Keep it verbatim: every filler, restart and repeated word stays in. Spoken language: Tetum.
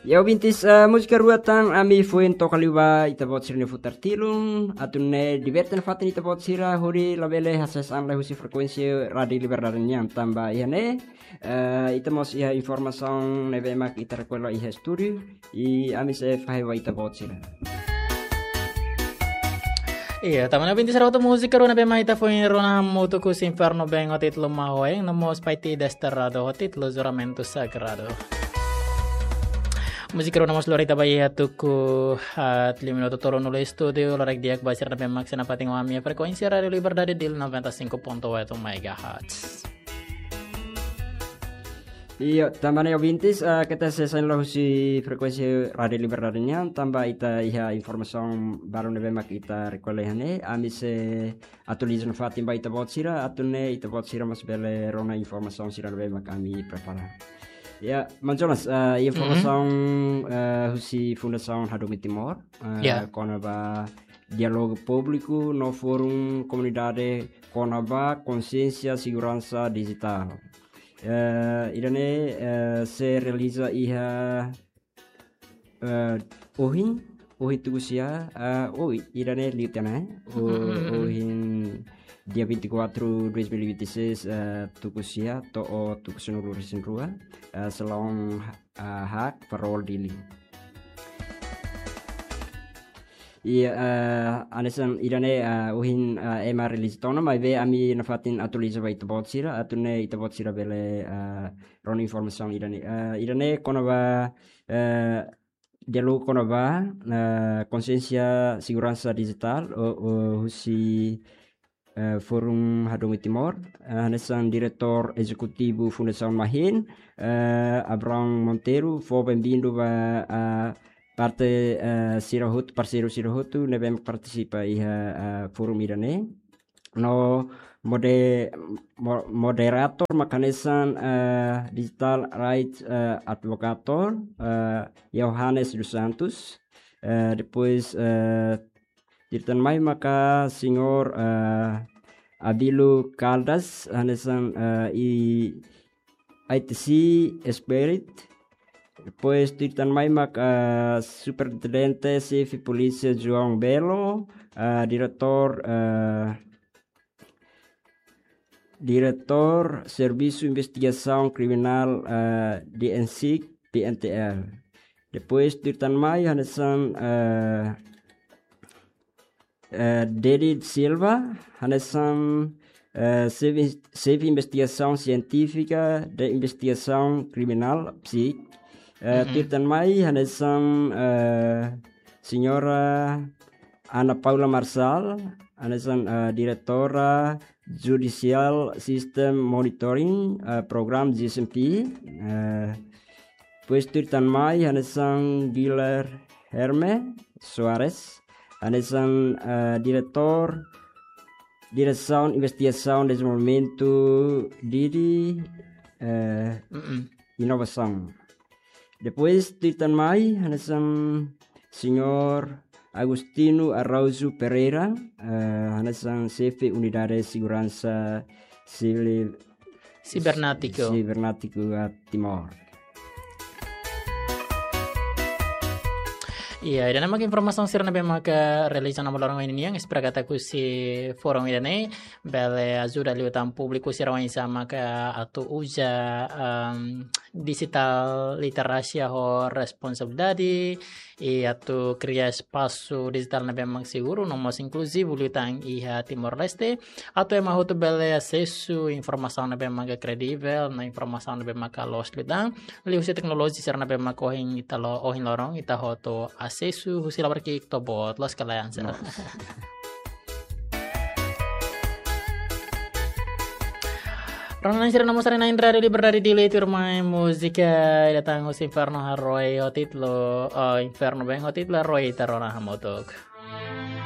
Ya, ouvintes, eh, múzika rua tan ami foin toka liu ba ita-boot sira-nia futar tilun, atu nune'e diverte nafatin ita-boot sira hodi labele hasees an lai husi frekuénsia Rádiu Liberdade nian, tanba iha ne'e, eh, ita mós iha informasaun ne'ebé mak ita rekolla iha estúdiu, i ami sei fahe ba ita-boot sira. Iya, tanba ne'e ouvintes sira, hotu múzika rua ne'ebé mak ita foin rona hamutuk husi Inferno Bem ho títulu Mahoeng, no mós Pai Ti Desterrado ho títulu Juramento Sagrado. Múzika rua ne'e mós lori ita ba iha tuku, ah, haat liu minutu tolunulu estúdiu, loron di'ak ba sira ne'ebé mak sei nafatin ho ami iha frekuénsia Rádiu Liberdade Dili noventa e cinco ponto oito megahertz. Iya, tanba ne'e ouvintes, eh, keta hasees an lai husi frekuénsia Rádiu Liberdade nian, tanba ita iha informasaun balu ne'ebé mak ita rekolla iha ne'e, ami sei atualiza nafatin ba ita-boot sira, atu nune'e ita-boot sira mós bele rona informasaun sira ne'ebé mak ami prepara. Ya, Maun Jonas, eh, informasaun, eh, husi Fundasaun Hadomi Timor, eh, Ya. kona-ba diálogu públiku no fórum komunidade kona-ba konsiénsia seguransa dijitál. Eh, ida-ne'e, eh, sei realiza iha, eh, ohin, ohin tuku sia, eh, oh, ida-ne'e liu tiha ona, eh? O-, ohin dia vinte e quatro, dois mil e vinte e seis, eh, tuku sia, to'o tuku sanulu-resin-rua, eh, salaun, eh, Haak, Farol, Dili. Iya, eh, hanesan ida-ne'e, eh, ohin, eh, ema realiza tiha ona, maibé ami nafatin atualiza ba ita-boot sira, atu nune'e ita-boot sira bele, eh, rona informasaun ida-ne'e. Eh, ida-ne'e kona-ba, eh, diálogu kona-ba, eh, konsiénsia seguransa dijitál, o, o, husi eh, Fórum Hadomi Timor, eh, hanesan Diretór Ezekutivu Fundasaun Mahin, eh, Abraão Monteiro, fó benvindu ba, eh, parte, eh, sira hotu, parseiru sira hotu ne'ebé partisipa iha, eh, fórum ida-ne'e. No mode-, mo-, moderatór mak hanesan, eh, Digital Rights, eh, Advocator, eh, Johannes dos Santos. Eh, depois, eh, tuir tan mai maka Señór, eh, Abílio Caldas, hanesan, eh, I-, I T C Expert. Depois tuir tan mai maka, eh, Superintendente Xefe Polísia João Belo, eh, Diretór, eh, Diretór Servisu Investigasaun Kriminál, eh, DENSIK, P N T L. Depois tuir tan mai hanesan, eh, eh, Dedi Silva, hanesan, eh, Xefe, Xefe Investigasaun Sientífika de Investigasaun Kriminál, PSIK. Eh, tuir tan mai hanesan, eh, Señora Ana Paula Marçal, hanesan, eh, Diretora Judicial System Monitoring, eh, Program, G S M P. Eh, depois tuir tan mai hanesan Guilherme Soares, hanesan, eh, Diretór Diresaun Investigasaun Dezenvolvimentu Didi, eh, Inovasaun. Depois tuir tan mai hanesan Señór Agostinho Araújo Pereira, eh, hanesan Xefe Unidade Seguransa Sivíl, Sibernétiku. Sibernétiku, eh, Timor. Iya, ida-ne'e mak informasaun sira ne'ebé maka realiza ona ba loron ohin nian, espera katak husi fórum ida-ne'e bele ajuda liután públiku sira oinsá maka atu uza, em, digital literasia ho responsabilidade, i atu kria espasu dijitál ne'ebé mak seguru no mós inkluzivu liután iha Timor-Leste, atu ema hotu bele asesu informasaun ne'ebé mak kredivel, no informasaun ne'ebé mak loos liután liuhusi teknolojia sira ne'ebé mak ohin ita lo-, ohin loron ita hotu asesu husi labarik ki'ik to'o boot, loos ka lae, Ansel? Loos. Rona-na'in sira, nomor sira-na'in, Rádiu Liberdade Dili, tuirmai múzika ida tan husi Inferno Haroe ho títulu, eh, Inferno Bem ho títulu Haroe, ita rona hamutuk.